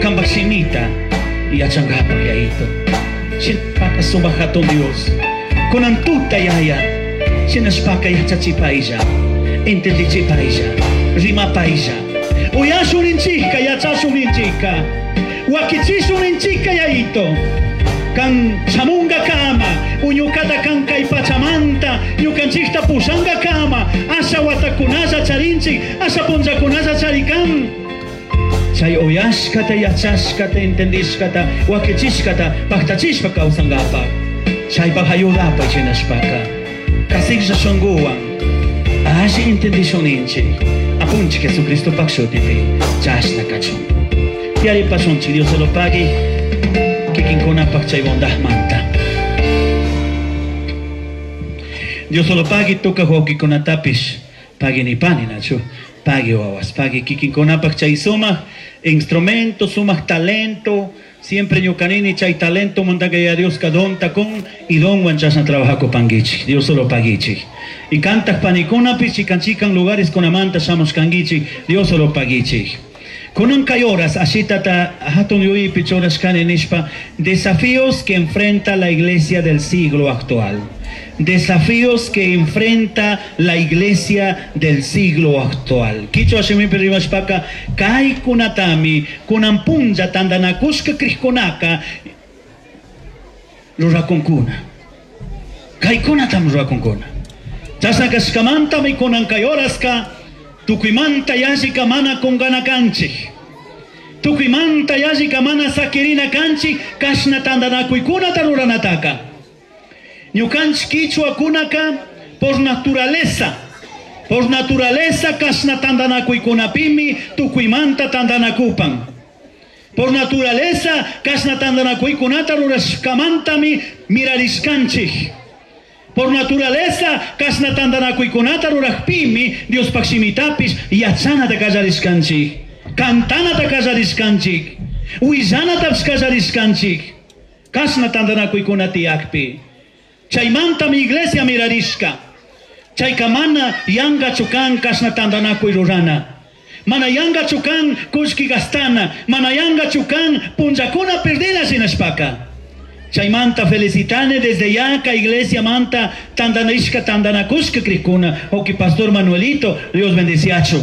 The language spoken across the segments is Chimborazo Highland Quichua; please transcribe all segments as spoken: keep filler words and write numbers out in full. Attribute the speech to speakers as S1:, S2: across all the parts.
S1: Kanpak shimita yachankapak, Yayito. Shinashpaka sumak hatun Dios. Kunan tuta, Yaya. Shinashpaka yachachipaylla. Entendichipaylla. Rimapaylla. Uyashun ninchika, yachashun ninchika. Wakichishun ninchika, Yayito. Kan shamunga kama, uñukata kan kay pachamanta, ñukanchikta pushanga kama, asha watakunalla charinchik, asha punllakunalla charikan. Chay uyashkata, yachashkata, entendishkata, wakichishkata, paktachishpa kawsankapak. Chaypak ayudapay shinashpaka. Kasiklla shunkuwan, alli entendishun ninchik. Apunchik Jesucristopak shutipi, chashna kachun. Tiyaripashunchik, Dios se lo pague. Kikinkunapak chay bondadmanta. Dios solo pagui tuka wawqikunatapish pagui nipani nachu pagui wawas pagui kikinkunapak chay sumaq instrumento, sumaq talento. Siempre ñukanini chay talento mantaka ya Dios ka donta kun y donwan chashna trabajakupankichik. Dios solo paguichik. Y cantak panikunapish chikan chikan lugares kunamanta shamushkankichik. Dios solo paguichik. Kunan kay horas ashitata hatun yuyaypi churashkani nishpa desafíos que enfrenta la iglesia del siglo actual. Desafíos que enfrenta la iglesia del siglo actual. Kichwa shimipi rimashpaka kay kunatami kunan punlla tandanakushka krishkunaka rurakunkuna. Kay kunatami rurakunkuna. Chashna kashkamantami kunan kay horaska tukuymanta yallika mana kungana kanchik. Tukuymanta yallika mana sakirina kanchik kashna tandanakuykunata ruranataka. Ñukanchik kichwakunaka por naturaleza, por naturaleza kashna tandanakuykunapimi tukuymanta tandanakupan. Por naturaleza kashna tandanakuykunata rurashkamantami mirarishkanchik. Por naturaleza kashna tandanakuykunata rurajpimi Diospaj shimitapis yachanata kallarishkanchik, kantanata kallarishkanchik, willanatapish kallarishkanchik. Kashna tandanakuykuna tiyakpi. Chaymantami iglesia mirarishka. Chayka mana yankachu kan kashna tandanakuy rurana. Mana yankachu kan kullki gastana. Mana yankachu kan punllakuna perdina shinashpaka. Chaymanta felicitane desde ya ka iglesia manta tandanishka tandanakushka krikuna. Oki pastor Manuelito, Dios bendeciacho.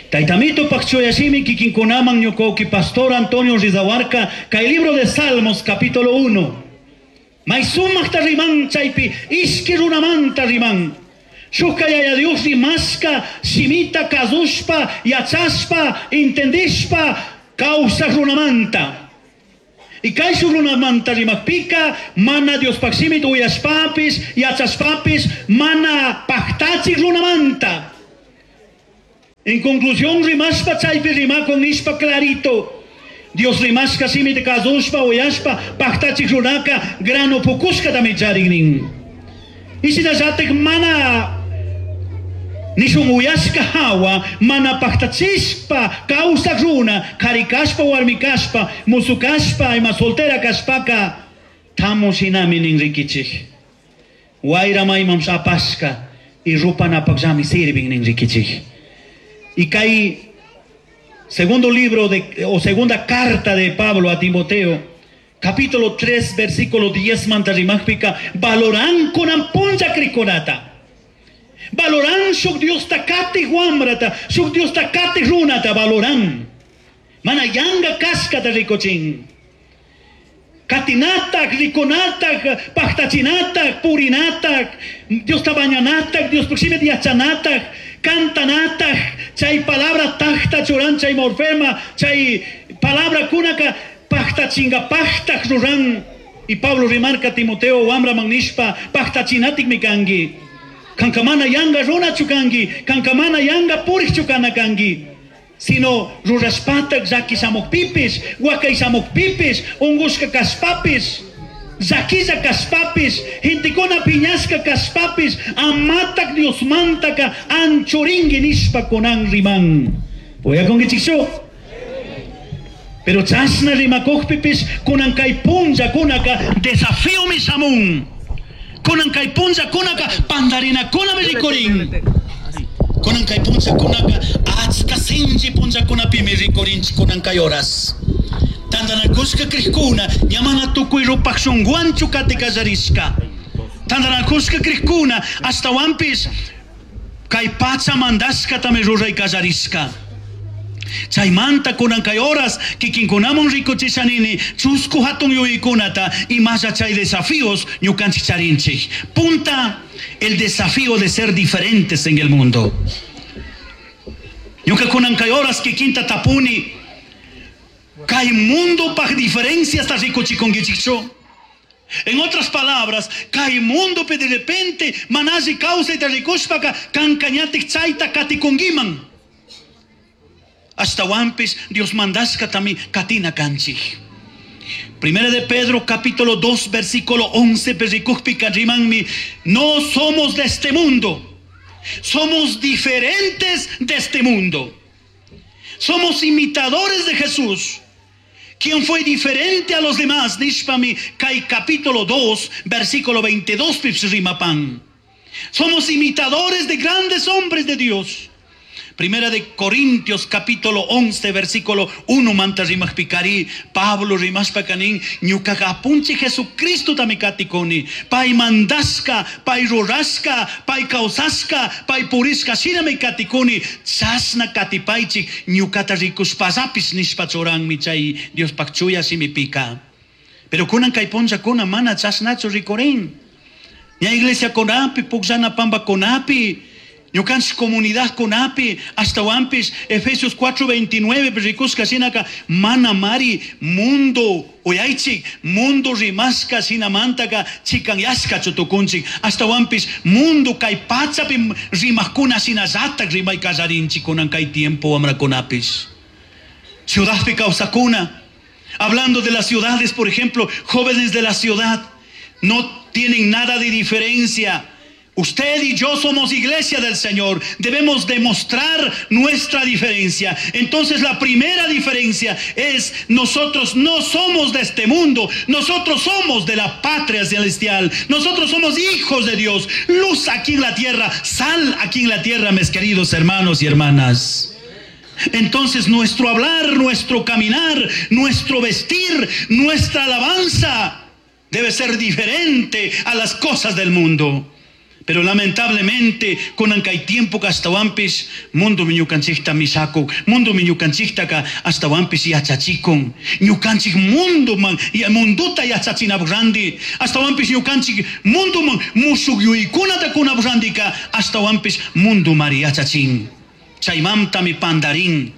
S1: Taitamito pakchoyashimi kikinkunaman ñuka pastor Antonio Rizahuarca, kay libro de Salmos capítulo uno. May sumakta riman chaypi ishki runamanta riman. Shukka yaya Dios rimashka shimita kazushpa yachashpa entendishpa kawsaq runamanta. Y kay shuk runamanta rimakpika mana Dios pakshimit uyashpapis yachashpapis mana paktachik runamanta. En conclusión rimashpa chaypi rimakun nishpa clarito. Dios rimashka shimita kazushpa uyashpa paktachik runaka grano pukushka tami chariknin. Y shinallatik mana nishun uyashka hawa mana paktachishpa kawsak runa kari kashpa warmi kashpa musu kashpa ima soltera kashpaka tamu shinami nin rikichik. Wayra maymam apashka y rupanapakllami sirvin nin rikichik. Y kay segundo libro de, o segunda carta de Pablo a Timoteo, capítulo tres, versículo diez, manta rimajpika, valoran kunan punlla krikunata. Valoran shuk Dios takati wamrata, shuk Dios takati runata, valoran. Mana yanga kaskata rikochin. Katinatak, rikunatak, paktachinatak, purinatak, Dios tabañanatak, Dios proximit yachanatak, cantanatak, chay palabra takta churan, chay morfema, chay palabra kunaka, paktachinga, paktak ruran. Y Pablo remarca Timoteo, wamra magnishpa, paktachinatik mikangi. Kankamana yanga runa chukangi, kankamana yanga purich chukana kangi. Sino rurashpatak llaki shamukpipis, wakay shamukpipis, ungushka kashpapis, llakilla kashpapis, gentekuna piñashka kashpapis, amatak Diosmantaka anchoringui nishpa kunan riman. Uyakunkichikchu? Pero chashna rimakukpipis kunan kay punlla kunaka desafío mi shamun. Kunan kay punlla kunaka pandarinakunami rikurin. Kunan kay punlla kunaka achka Sinchi punllakunapimi rikurinchik kunan kay horas. Tantanakushka crijkuna ña mana tukuy rupaj shunguwanchu kati kallarishka. Tantanakushka crijkuna ashtawanpish kay pacha mandashkatami ruray kallarishka. Chaymanta kunan kay horas kikinkunaman rikuchishanini chusku hatun yuyaykunata imalla chay desafíos ñukanchik charinchik. Punta, el desafío de ser diferentes en el mundo. Ñuka kunan kay horas kikinta tapuni kay mundo paj diferenciasta rikuchikunkichikchu. En otras palabras, kay mundo pe de repente mana alli kawsayta rikushpaka kanka ñatik chayta katikunkiman. Ashtawanpish Dios mandashkatami katina kanchik. Primera de Pedro capítulo dos versículo once rikukpika rimanmi, no somos de este mundo, somos diferentes de este mundo. Somos imitadores de Jesús, quien fue diferente a los demás. Nishpami kay capítulo dos versículo veintidós rimapan. Somos imitadores de grandes hombres de Dios. Primera de Corintios capítulo once versículo uno manta rimajpikari Pablo rimashpakanin ñukaga apunchi Jesucristo tamikatikoni pay mandashka pay rurashka pay kawsashka pay purishka shinami katikuni chashna katipaychik ñukata rikushpallapis nishpa churanmi chay Diospaj chuya shimipika. Pero kunan kay punllakuna mana chashnachu rikurin. Ña iglesia kunapi pukllana pamba kunapi ñukanchik comunidad kunapi ashtawanpish Efesios cuatro veintinueve rikushka shinaka mana mari mundo uyaychik mundo rimashka shinamantaka chikanyashkachu tukunchik ashtawanpish mundo kay pachapi rimajkuna shinallatak rimay kallarinchik kunan kay tiempo wamrakunapish. Ciudadpi kawsakuna, hablando de las ciudades, por ejemplo, jóvenes de la ciudad no tienen nada de diferencia. Usted y yo somos iglesia del Señor. Debemos demostrar nuestra diferencia. Entonces la primera diferencia es nosotros no somos de este mundo. Nosotros somos de la patria celestial. Nosotros somos hijos de Dios. Luz aquí en la tierra, sal aquí en la tierra, mis queridos hermanos y hermanas. Entonces nuestro hablar, nuestro caminar, nuestro vestir, nuestra alabanza debe ser diferente a las cosas del mundo. Pero lamentablemente, kunan kay tiempo ashtawanpish mundo ñukanchikta mishakun, mundo ñukanchiktaka ashtawanpish yachachikun. Ñukanchik mundo man, ya munduta yachachinapaj randi, ashtawanpish ñukanchik mundo man mushuk yuyaykunata kunapaj randika ashtawanpish mundo mari yachachin. Chaymantami pandarin.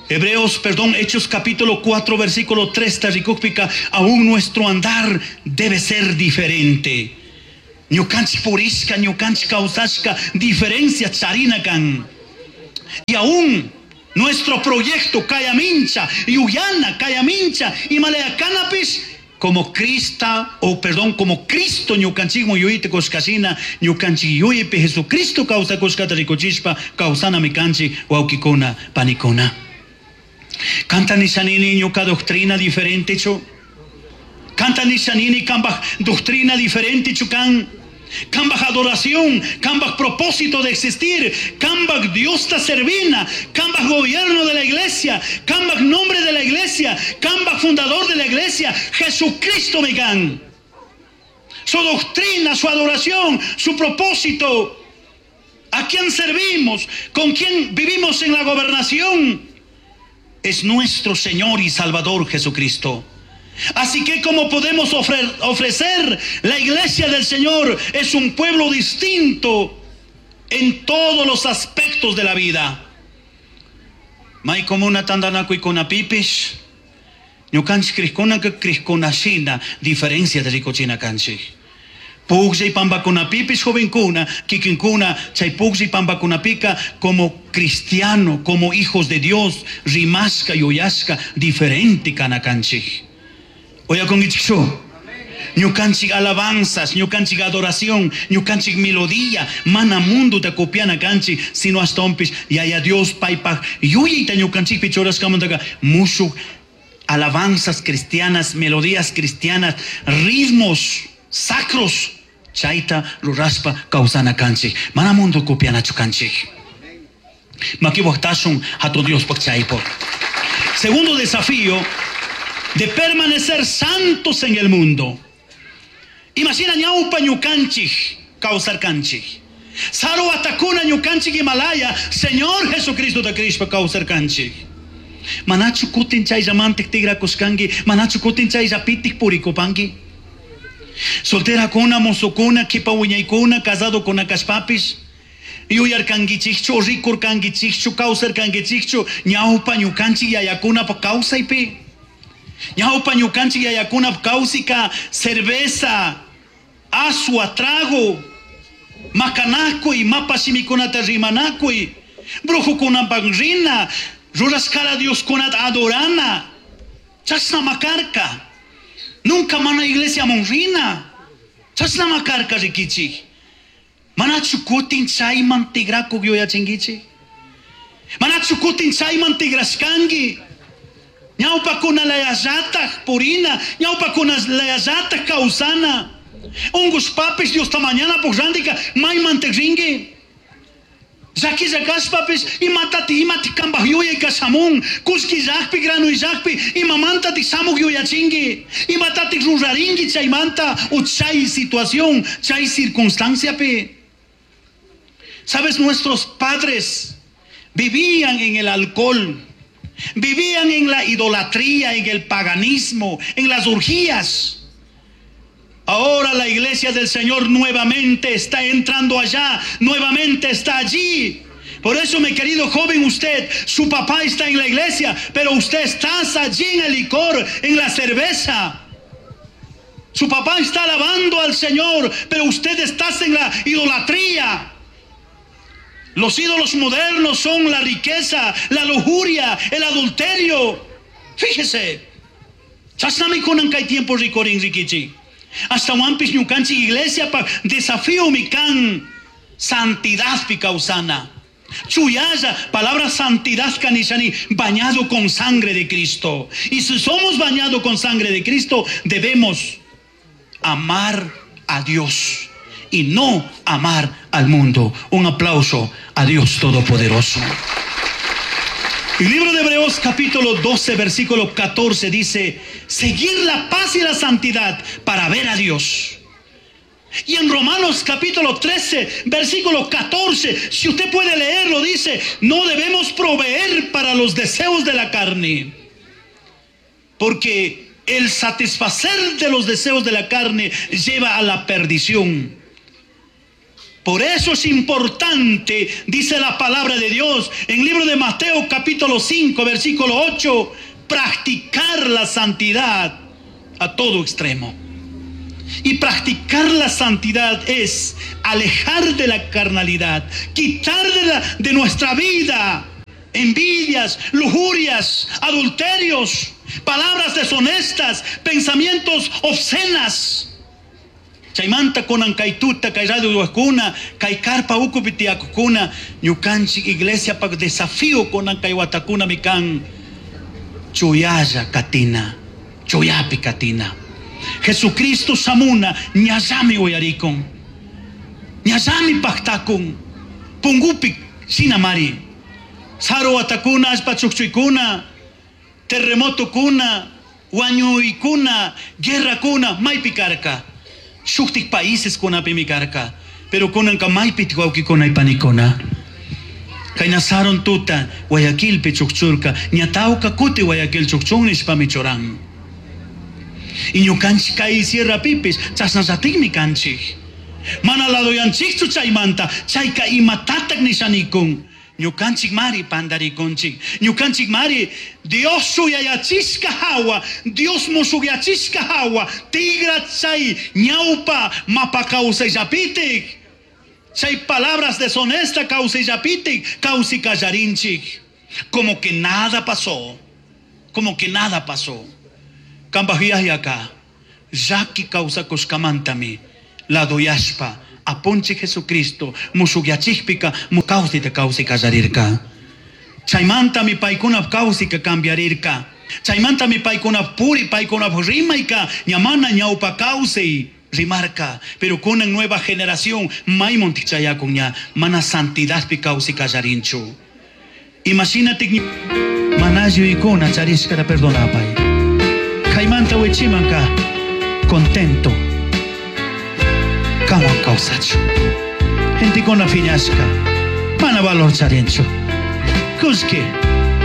S1: Hebreos, perdón, Hechos capítulo cuatro, versículo tres, rikukpika, aún nuestro andar debe ser diferente. Ñukanchik purishka, ñukanchik kawsashka, diferencia charinakan. Y aún nuestro proyecto Cayamincha, Yuyana, Cayamincha, Himalaya-Canapis, como Crista, o perdón, como Cristo ñukanchikman yuyayta kushkashina, ñukanchik yuyaypi Jesucristo kawsakushkata rikuchishpa, kawsanami kanchik, wawkikuna, panikuna. Kanta nishanini ñuka doctrina diferente chu. Kanta nishanini kambaj doctrina diferente chukan. Kambaj adoración, kambaj propósito de existir, kambaj Dios ta servina, kambaj gobierno de la iglesia, kambaj nombre de la iglesia, kambaj fundador de la iglesia, Jesucristo megan. Su doctrina, su adoración, su propósito. ¿A quién servimos? ¿Con quién vivimos en la gobernación? Es nuestro Señor y Salvador Jesucristo. Así que como podemos ofre-, ofrecer la iglesia del Señor es un pueblo distinto en todos los aspectos de la vida. May comuna tandanakuy kunapipish, ñukanchik crijkunaka crijkunashina diferencia de rikuchina kanchik. Pugllay pambakunapipis jovenkuna, kikinkuna, chay pugllay pambakunapika como cristiano, como hijos de Dios, rimashka, yuyashka, diferente kana kanchik. Oyakunkichikchu. Ñukanchik alabanzas, ñukanchik adoración, ñukanchik melodía, mana mundo ta copiana kanchik, sino hasta ompis, yaya Dios paypaj yuyayta ñukanchikpi churashkamantaka mushuk alabanzas cristianas, melodías cristianas, ritmos sacros, chayta rurashpa kawsana kanchik, mana mundo copianachu kanchik. Makiwaqtashun hatun Diospaq chaypaq. Segundo desafío de permanecer santos en el mundo. Imagina ñawpa ñukanchik kawsarkanchik. Saru watakuna ñukanchik Himalaya, Señor Jesucristo ta krishpa kawsarkanchik. Manachu kutin chayllamantik tigrakushkanki, manachu kutin chayllapitik purikupanki. Solterakuna, mozokuna, kipa wiñaykuna, casadokuna kashpapis, yuyarkankichikchu, rikurkankichikchu, kawsarkankichikchu, ñawpa ñukanchik yayakunapa kawsaypi. Ñawpa ñukanchik yayakunapa kawsika cerveza, asua, trago, makanakuy, mapa shimikunata rimanakuy, brujukunapak rina, rurashkara Dioskunata adorana, chashna makarka. Nunca mana iglesia rina, chashna makarka rikichik. Manachu kutin chayman tigrakuq yuyachinkichik. Manachu kutin chayman tigrashkanki. Ñawpakuna layallataj purina, ñawpakuna layallataj kawsana. Ungushpapis Diosta mañana randika mayman rinki. Llakilla kashpapis imatati imati kambaj yuyay kashamun, kullki llakpi grano llakpi imamantati shamuq yuyachinki, imatati rurarinki chaymanta o chay situación, chay circunstanciapi. Sabes, nuestros padres vivían en el alcohol, vivían en la idolatría, en el paganismo, en las orgías. Ahora la iglesia del Señor nuevamente está entrando allá, nuevamente está allí. Por eso, mi querido joven, usted, su papá está en la iglesia, pero usted está allí en el licor, en la cerveza. Su papá está alabando al Señor, pero usted está en la idolatría. Los ídolos modernos son la riqueza, la lujuria, el adulterio. Fíjese, chashnami kunan kay tiempo rikurin rikichik. Hasta wampis ñukanchik iglesia pa desafío mi kan santidad pi kawsana. Chuyalla, palabra santidad kanishani, bañado con sangre de Cristo. Y si somos bañados con sangre de Cristo, debemos amar a Dios y no amar al mundo. Un aplauso a Dios Todopoderoso. El libro de Hebreos capítulo doce, versículo catorce dice, seguir la paz y la santidad para ver a Dios. Y en Romanos capítulo trece, versículo catorce, si usted puede leerlo, dice, no debemos proveer para los deseos de la carne, porque el satisfacer de los deseos de la carne lleva a la perdición. Por eso es importante, dice la palabra de Dios, en el libro de Mateo capítulo cinco, versículo ocho, practicar la santidad a todo extremo. Y practicar la santidad es alejar de la carnalidad, quitar de, la, de nuestra vida envidias, lujurias, adulterios, palabras deshonestas, pensamientos obscenas. Chaymanta kunan kay tuta, kay radio huajkuna, kay karpa ukupi tiyakukuna, ñukanchik iglesia pak desafío kunan kay watakuna mikan chuyalla katina, chuyapi katina. Jesucristo samuna ñallami uyarikun, ñallami paktakun, pungupi sinamari, saru watakuna, allpa chukchuykuna, terremoto kuna, wañuykuna, guerra kuna, maypi karka. Shuktik países kunapi mi karka, pero kunanka maypi wawkikuna y panikuna. Kaynasaron tuta, Guayaquilpi chukchurka, ñatawka kuti Guayaquil chukchun nishpami churan. Y ñukanchik kay sierra pipis, chasnallatikmi kanchik. Mana ladoyanchikchu chaymanta, chayka imatatak nishanikun. Ñukanchik mari pandarikunchik. Ñukanchik mari Dios suyayachishka hawa, Dios musuyachishka hawa, tigra chay ñawpa mapa kawsayllapitik. Chay palabras deshonesta kawsayllapitik, kawsikallarinchik. Como que nada pasó, como que nada pasó. Kambajiayaka, llaki kawsakushkamantami, ladoyashpa, apunchik Jesucristo, musuyachikpika, mukawsita kawsikallarirka. Chaymantami paykuna kawsika cambiarirka. Chaymantami paykuna puri, paykuna rimayka, ñamana ñawpa kawsay rimarka. Pero kunan nueva generación, maymun tichayakun ña, mana santidadpi kawsikallarinchu. Imagínate manayu ikuna charishkata perdonapay. Kaymanta wichimanka contento. Kanwan kawsachu. Gentekuna phiñashka. Mana valor charinchu. Kullki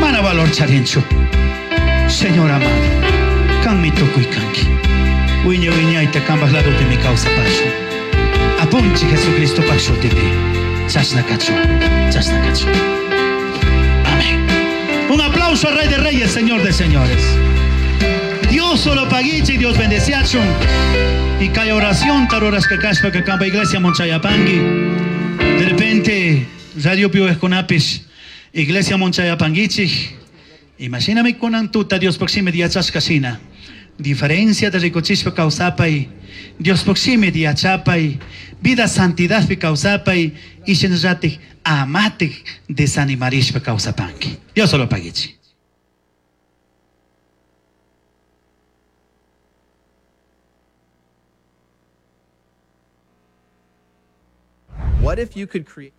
S1: mana valor charinchu. Señor amado, kanmi tukuy kanki. Wiña wiñayta kanpaj ladopimi kawsapashun. Apunchik Jesucristo shutipi. Chashna kachun, chashna kachun. Amén. Un aplauso al Rey de Reyes, Señor de Señores. Dios solo paguichi, Dios bendeciachun. Y kay oración tarorashka kashpa que kanpa iglesia monchayapangi. De repente, Radio Pio Esconapis, iglesia monchayapanguichi. Imagíname kunan tuta Dios proxime yachashka shina. Diferencia de rikuchishpa kawsapay, Dios proxime yachapay, vida santidad pi kawsapay, y shinllatik amatik desanimarishpa kawsapanki. Dios solo paguichi.
S2: What if you could create